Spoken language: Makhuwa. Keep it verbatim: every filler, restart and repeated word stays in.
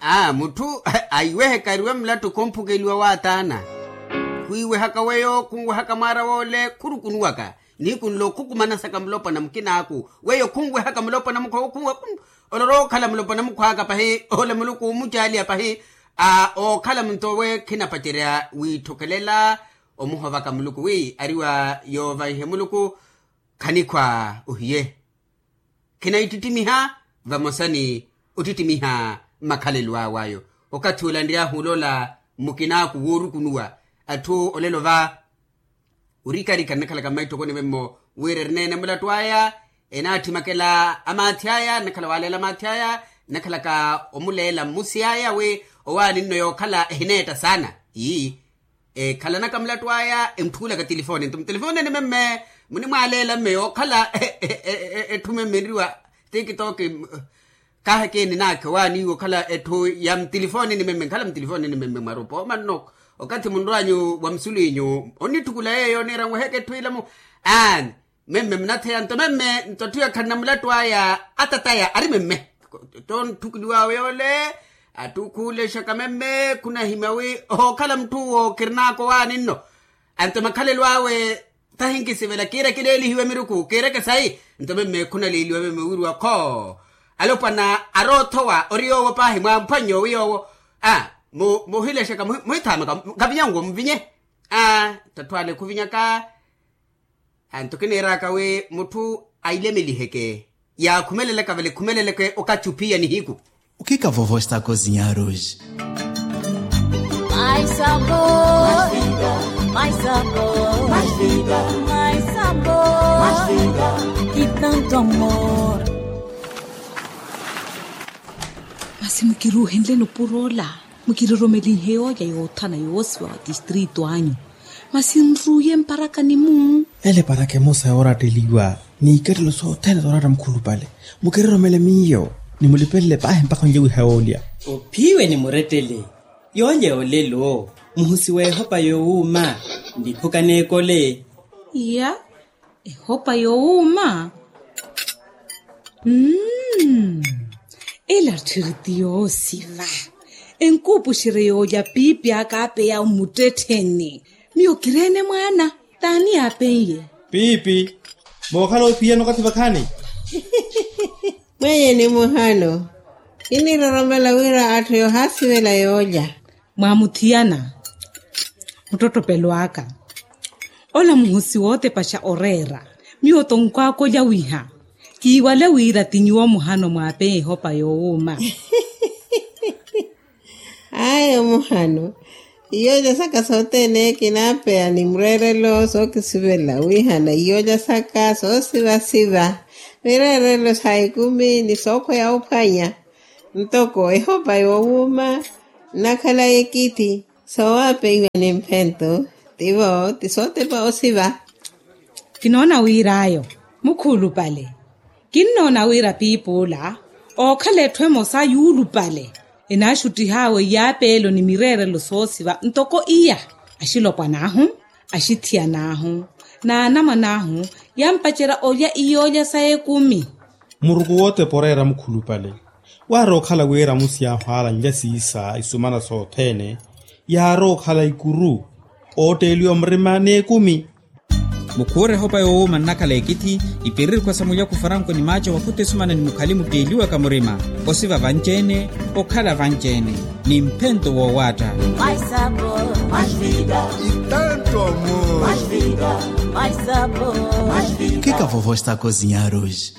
Aa mutthu aiweheka ariwe mulattu khumphukeliwa waataana. Khwiwehaka weyo khunwehaka mwaara woole khurukunuwaka nihiku nlo khukumanasaka mulopwana mukinaaku. Weyo khunwehaka mulopwana mukhu olorowa okhala mulopwana mukhu aka pahi ole muluku omucaaliya pahi. Aa ookhala munto owe khinapacerya wiitthokelela omuhovaka muluku wi ariwa yoovaihe muluku. Khanikhwa ohiye khinaittittimiha vamosa ni ottittimiha makhalelo awe ayo. Okathi olanry'ahu oloola mmukinaaku woorukunuwa atthu olelo va orikarika nnakhalaka mmaitthokoni memmo wira erineene mulattu aya enaattimakela amaathi aya nnakhala waaleela amaathi aya nnakhalaka omuleela mmusi aya wi owaani nno yookhala ehineetta saana. Ii ekhalanaka mulattu aya entthulaka tilifooni nto mutilifoonini memme munimwaaleela mme yookhala etthu memme enriwa tikitoki. Kaaheke eninaakhe owaaniiwe okhala etthu ya mutilifoonini memme nkhala mutilifoonini memme mwarupa omanno okathi munrwanyu wa musulu inyu onnitthukula yeeyo oniira nweheke etthu ilamu. Aani memme munatheya nto memme nto atthu yakhalana mulattu aya atataya ari memme. Tontthukuliw'awe yoole atthu khuulexaka memme khunahimya wi ohookhala mutthu owo khirinaaka owaani nno. Anto makhalelo awe tahinkisivela kiira kileelihiwe miruku kiireke sayi. Nto memme khunaleeliwa memme wiiriwa khoo alopwana aroothowa ori yoowo paahi mwamphwannye owi yoowo. Aa muhilexaka muhithaamaka nkavinyanwo muvinye. Aa tatthu ale khuvinyaka. Anto kiniiraka wi mutthu ailemeliheke yaakhumelelaka vale khumeleleke okathi ophiya nihiku. Ukika vovo estako zinyaruji. Masi mukiruuhenle nupuro ola mukiroromelinhe yooja yoothana yoosiwa wa tistritu anyu. Masi nruuye mparakani-mu. Ele paraka emosa yooratteliwa n'ikattelo sothene sooratta mukhulupale. Mukiroromele miyo nimulipelele paahi mpakha onlye wiha yoolya. Ophiwe ni murettele yoolya yoolelo muhusi w'ehopa yoowuuma. Ndiphuka n'ekole. Iya ehopa yoowuuma. Mmm ela tthiri ti yoosiva. Enkuupuxerye yoolya piipi aka apeya mmuttettheni. Miyo kireene mwaana t'ani yaapen'ye? Piipi mookhala oophiyana okathi vakhaani. Mwenyeni muhano kiniroromela wira atthu yoohaasivela yoolya. Mwaamuthiyana muttottopelo aka ola muhusi wootepaxa oreera. Miyo tonkwaaka olya wiha kiiwale wira ti nyuwo muhano mwaapeya ehopa yoowuuma. Ayo muhano iyoolya saka sothene kinaapeya ni mureerelo sookisivela wihana iyoolya saka soosivasiva mireerelo sa ekumi ni sookhweya ophwanya. Ntoko ehopa yoowuuma nnakhala ekithi soowapeiwa ni mphento tivo ti sootepa osiva. Kinoona wir'ayo mukhuulupale. Kinnoona wira piipi ola ookhala etthu emosa yuulupale enaaxuttih'awe iyaapeelo ni mireerelo soosiva ntoko iya. Axilopwan'ahu axithiyan'ahu n'anamwan'ahu yampacerya olya iyoolya sa ekumi. Muruku wootepa oreera mukhulupale waarookhala wira amusi ahwaala nlya siisa isumana sothene yaarookhala ikuru ootteeliwa murima n'ekumi. Mukhuure ehopa yoowuuma nnakhala ekithi ipiririkhwa sa mulyaku faranko ni maaco wakhuta esumana ni mukhali mutteeliwaka murima osiva vanci-ene okhala vanci-ene ni mphento woowaatta. Kika vovo estako zinyaruji.